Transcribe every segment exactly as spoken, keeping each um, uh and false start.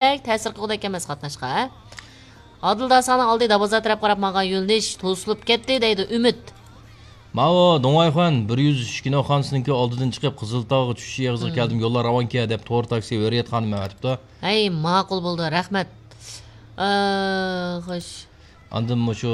بەك تەسىر قىلغۇدەك ئەمەس قاتناشقا، ھە؟ ئادىل داسانىڭ ئالدى دابازا تەرەپ قاراپ ماڭغان يۆنىلىش توسۇلۇپ كەتتى، دەيدۇ ئۈمىد. ماۋۇ دۇڭۋايخۇەن بىر يۈز ئۈچ كىنوخانىسىنىڭكى ئالدىدىن چىقىپ، قىزىلتاغغا چۈشۈش ئېغىزىغا كەلدىم، يوللار راۋانكەن، دەپ تور تاكسى ھۆرىيەت خانىم ئەۋەتىپتۇ. ھەي، ماقۇل بولدى، رەھمەت. ئا، خوش. ئاندىن مۇشۇ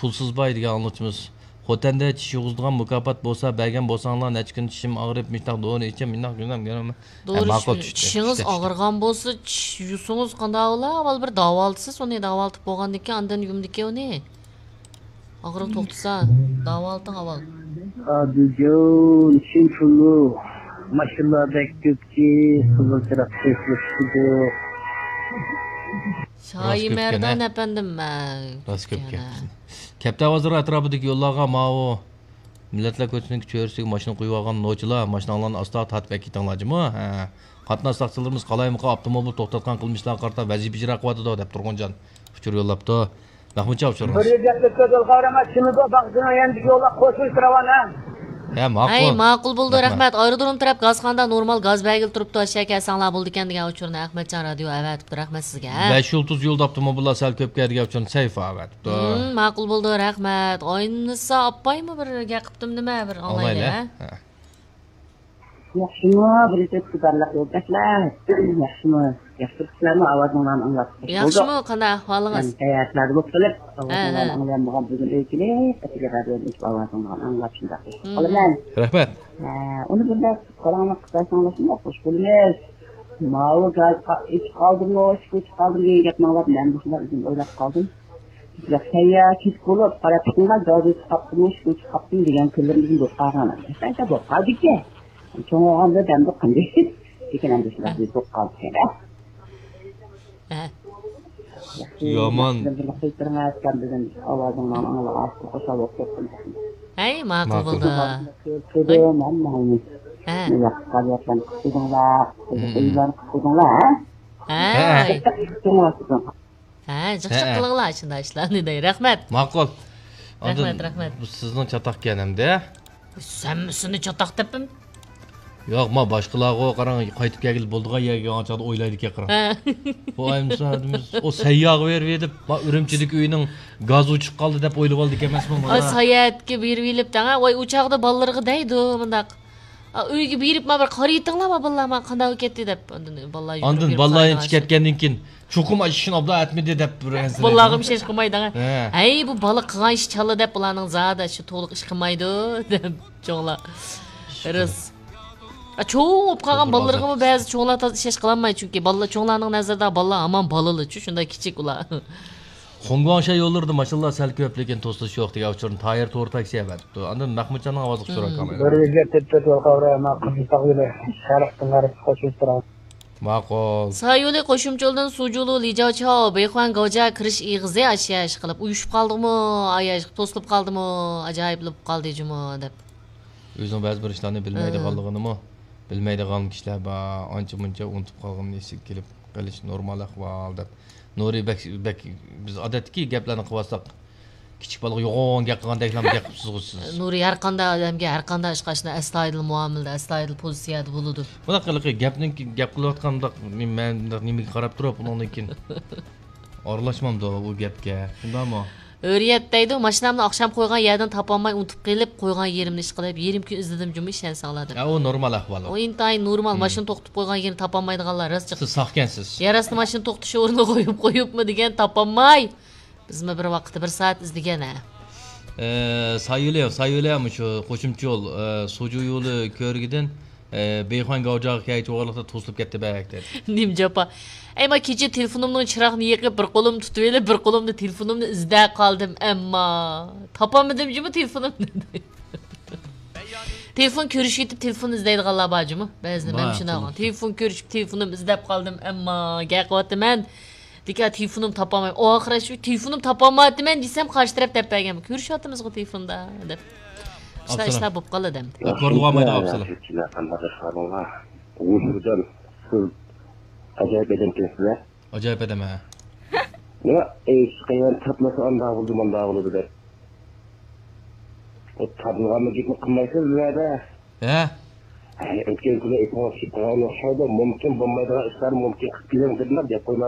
پۇلسىز باي دېگەن ئاڭلىغۇچىمىز، خوتەندە چىش يۇغۇزىدىغان مۇكاپات بولسا بەرگەن بولساڭلار، نەچچە كۈن چىشىم ئاغرىپ، مۇشۇنداق دورا ئىچىم، مۇنداق گۈنەم گۈنەم. دورا ھە، ماقۇل، چۈشتى، چۈشتى، چىشىڭىز چۈشتى. ئاغرىغان بولسا، چىش يۇسىڭىز قانداق بولا؟ ئاۋۋال بىر داۋالىتىسىز ئۇنى، داۋالىتىپ بولغاندىن كېيىن ئاندىن يۇمىدىكەن ئۇنى. ئاغرىق توختىسا، داۋالىتىڭ ئاۋۋال. ئادىلجان، چۈشۈن پۇللۇق. ماشىنىلار بەك كۆپكى، قىزىل چىراغ تېزلىشىدۇ. شايى راست كۆپكەن، مەردان ھە؟ ئەپەندىم، مە، راست كۆپكەن، كۆپكەن، ھە. كەپتەر بازىرى ئەتراپىدىكى يوللارغا ماۋۇ مىللەتلەر كوچىسىنىڭ چۆرىسىگە ماشىنا قويۇۋالغان نوچىلار، ماشىناڭلارنى ئاستا تارتىپ ئەكېتىڭلار جۇمۇ. ھە. قاتناش ساقچىلىرىمىز قالايمىقان ئاپتوموبىل توختاتقان قىلمىشلارغا قارىتا ۋەزىپە ئىجرا قىلىۋاتىدۇ، دەپ تۇرغۇنجان ئۇچۇر يوللاپتۇ. مەخمۇتجان ئۇچۇرىمىز. بىر يۈز يەتمىش تۆت يول قاۋرىما، شىمىزو باغچىنىڭ يېنىدىكى يوللار قوشۇلۇش راۋان، ھە؟ ھە، ماقۇل. ھەي، ماقۇل بولدى، رەھمەت. رەھمەت. ئايرودروم تەرەپ گازخانىدا نورمال گاز بەرگىلى تۇرۇپتۇ، ئاشۇ يەرگە كەلسەڭلار بولىدىكەن دېگەن ئۇچۇرنى ئەخمەتجان رادىيو ئەۋەتىپتۇ، رەھمەت سىزگە. بەش يۇلتۇز يولدا ئاپتوموبىللار سەل كۆپكەن دېگەن ئۇچۇرنى سەيف ئەۋەتىپتۇ. ھىم، ماقۇل بولدى، رەھمەت. ئاينىسا ئاپايمۇ بىر گەپ قىپتىم نېمە، بىر ئاڭلايلى، ئاڭلايلى، ھە؟ ھە. ياخشىمۇ، بىر ئىككى ئىقتىدارلىق يولداشلار؟ ياخشىمۇ؟ ياخشى تۇرۇپسىلەرمۇ؟ ئاۋازىڭلارنى ئاڭلاپ خۇش بولدۇق. ياخشىمۇ؟ قانداق ئەھۋالىڭىز؟ مەن ساياھەتلەردە بولۇپ قېلىپ، ھە، ئاۋازىڭلارنى ئاڭلىيالمىغان بۈگۈن ئۆي كېلىپ، ئەتىگە رادىيونى ئېچىپ ئاۋازىڭلارنى ئاڭلاپ شۇنداق خۇش بولۇپ قالىمەن. رەھمەت. ھە، ئۇنى بىر دەپ قاراڭلار قىلساڭلار شۇنداق خۇش بولىمىز. ماۋۇ گاز قا-، ئېچىپ قالدىمۇ، ئىشىك ئېچىپ قالدىم دېگەن گەپنى ئاڭلاپ مەن مۇشۇنداق ئۆزۈم ئويلاپ قالدىم. بىزلەر سەيياھكىچ بولۇپ، قارا پۇتۇڭغا جازا چىقاپتىمۇ، شۇ چىقاپتىمۇ دېگەن كۈنلىرىمىزمۇ بولۇپ قالغان. ھېچقايسا بولۇپ قالدىكەن. چوڭ بولغاندا دەمدۇ قىلدى. لېكىن ئەمدى شۇنداق بولۇپ قالدىكەن. ھە. يامان. بىللە قىلدۇرۇڭ، ئەتكەن بۈگۈن ئاۋازىڭلارنى ئاڭلاپ، خۇشال بولۇپ كەتتىم. ھەي، ماقۇل ماقۇل. بولدى. كۆردۈم، ھەممىڭلارنى. ھە. ياخشى پائالىيەتلەرنى قىلدىڭلار، مم. ئويۇنلارنى قىلدىڭلار، ھە؟ ھەي. ھە. ھە، جىقچىق ھە. قىلىڭلار، شۇنداق ئىشلارنى دەي. رەھمەت. ماقۇل. ئاندىن رەھمەت، رەھمەت. بۇ سىزنىڭ چاتاقكەن ئەمدى. سەن سېنى چاتاق دەپمۇ؟ ياق، ما باشقىلارغۇ قاراڭ، قايتىپ كەلگىلى بولىدىغان يەرگە كەلگەن چاغدا ئويلايدىكەن قاراڭ. ھە. بۇ ئايمىسا، ئۇ سەيياغا بېرىپ ئېدىپ، ما ئۈرۈمچىدىكى ئۆينىڭ گازى ئۆچۈپ قالدى دەپ ئويلىۋالدىكەنمەسمۇ؟ ئا، ساياھەتكە بېرىۋېلىپ دەڭە، ۋاي، ئۇ چاغدا بالىلىرىغا دەيدۇ مۇنداق. ئا، ئۆيگە بېرىپ، ما بىر قارىيتىڭلار، ما بالىلار، ما قانداق بولۇپ كەتتى دەپ. ئاندىن بالىلار ئاندىن يۈگۈرۈپ بالىلار سارايغا ئىچىپ كەتكەندىن كېيىن، چوقۇم ئاشۇ ئىشنى ئابلا ئەتمىدى دەپ بىر ئەنسىرەيدۇ. بالىلارغىمۇ ئىشەنچ قىلمايدۇ. ھە. ھەي، بۇ بالا قىلغان ئىش چالا دەپ بۇلارنىڭ زادى شۇ تولۇق ئىش قىلمايدۇ دەپ چوڭلار. راست. ئا، چوڭ بولۇپ قالغان بالىلىرىغىمۇ بەزى چوڭلار تازا ئىشەنچ قىلالماي، چۈنكى بالىلار، چوڭلارنىڭ نەزىرىدە بالىلار ھامان بالىلىچۇ، شۇنداق كىچىك ئۇلار. خۇڭگۇاڭشەن يوللىرىدا ماشىنىلار سەل كۆپ، لېكىن توسۇلۇش يوق دېگەن ئۇچۇرنى تايىر تور تاكسى ئەۋەتىپتۇ. ئاندىن مەخمۇتجاننىڭ ئاۋازلىق ئۇچۇرى ئاكام. بىر يۈز يەتتە تۆت يول قاۋرى، ماقۇل، تاغ يولى، شەرقتىن غەربكە قوشۇلۇپ تۇرىمىز. ماقۇل. سايولى قوشۇمچە يولدىن سۇجۇلۇ، لىجاۋچاۋ، بېيخۇەن گاۋجا كىرىش ئېغىزى ئاشياش قىلىپ ئۇيۇشۇپ قالدىغۇمۇ؟ ئاياش توسۇلۇپ قالدىمۇ؟ ئاجايىپلا بولۇپ قالدى جۇمۇ دەپ. ئۆزىنىڭ بەزى بىر ئىشلارنى بىلمەيدىغانلىقىنىمۇ، بىلمەيدىغان كىشىلەر بار، ئانچە مۇنچە ئۇنتۇپ قالغىنىنى ئېسىگە كېلىپ قېلىش نورمال ئەھۋال دەپ. نۇرى بەك، بەك، بىز ئادەتتىكى گەپلەرنى قىلىۋاتساق، كىچىك بالىغا يوغان گەپ قىلغاندەكلا گەپ قىلىپسىزغۇ سىز. نۇرى ھەر قانداق ئادەمگە، ھەر قانداق ئىشقا شۇنداق ئەستايىدىل مۇئامىلىدە، ئەستايىدىل پوزىتسىيەدە بولىدۇ. بۇنداق قىلىقى گەپنىڭ، گەپ قىلىۋاتقان بۇنداق مەن بۇنداق نېمىگە قاراپ تۇرۇپ، ئۇنىڭدىن كېيىن ئارىلاشمامدۇ ئۇ گەپكە؟ شۇنداقمۇ؟ ھۆرىيەت دەيدۇ، ماشىنامنى ئاخشام قويغان يەردىن تاپالماي ئۇنتۇپ قېلىپ، قويغان يېرىمنى ئىشقىلىپ، يېرىم كۈن ئىزلىدىم جۇمۇ، ئىشەنسەڭلار دەپ. ھە، ئۇ نورمال ئەھۋال ئۇ. ئۇ ئىنتايىن نورمال، مم. ماشىنا توختىتىپ قويغان يېرىنى تاپالمايدىغانلار راست جىق. سىز ساخكەنسىز. يەر ئاستى ماشىنا توختىتىش ئورنىغا قويۇپ، قويۇپمۇ دېگەن، تاپالماي. بىزمۇ بىر ۋاقىتتا بىر سائەت ئىزدىگەن، ھە. ئە، سايولى، سايولى مۇشۇ قوشۇمچە يول، ئە، سۇجۇ يولى كۆرۈكىدىن، ئە، بېيخۇەن گاۋجاغا كەلگۈچە ئارىلىقتا توسۇلۇپ كەتتى بەك دەيدۇ. نېمە جاپا. ئەي، ما كېچە تېلېفونۇمنىڭ چىراغىنى يېقىپ، بىر قولۇمنى تۇتۇۋېلىپ، بىر قولۇمدا تېلېفونۇمنى ئىزدەپ قالدىم، ئەمما تاپالمىدىم جۇمۇ تېلېفونۇمنى. تېلېفون كۆرۈشۈۋېتىپ، تېلېفون ئىزدەيدىغانلار بار جۇمۇ. بەزىدە مەن بار، شۇنداق. تېلېفون. تېلېفون كۆرۈشۈپ، تېلېفونۇمنى ئىزدەپ قالدىم، ئەمما گەپ قىلىۋاتىمەن. لېكىن تېلېفونۇمنى تاپالمايمەن. ئاخىرى شۇ تېلېفونۇمنى تاپالمايۋاتىمەن دېسەم، قارشى تەرەپ دەپ بەرگەن. كۆرۈشۈۋاتىمىزغۇ تېلېفوندا دەپ. شۇنداق ئىشلار بولۇپ قالىدۇ ئەمدى. كورلىغۇ ئالمايدۇ، ئاپسىلەر. قانداق ئەھۋالىڭلار؟ ئۇ سىز ئاجايىپ ئادەمكەنسىز-ە. ئاجايىپ ئادەم، ھە. نېمە، ئىش قىيىن، تاپمىسا ئانداق بولدى، مانداق بولدى دەپ. ئۇ تاپىدىغان گەپنى قىلمايسىز بۇ يەردە. ھە؟ ئۆتكەن كۈنى ئېيتقان چىققان ئوخشايدۇ، مۇمكىن بولمايدىغان ئىشلار مۇمكىن قىلىپ بېرىڭ دېدىلا، گەپ قويماس.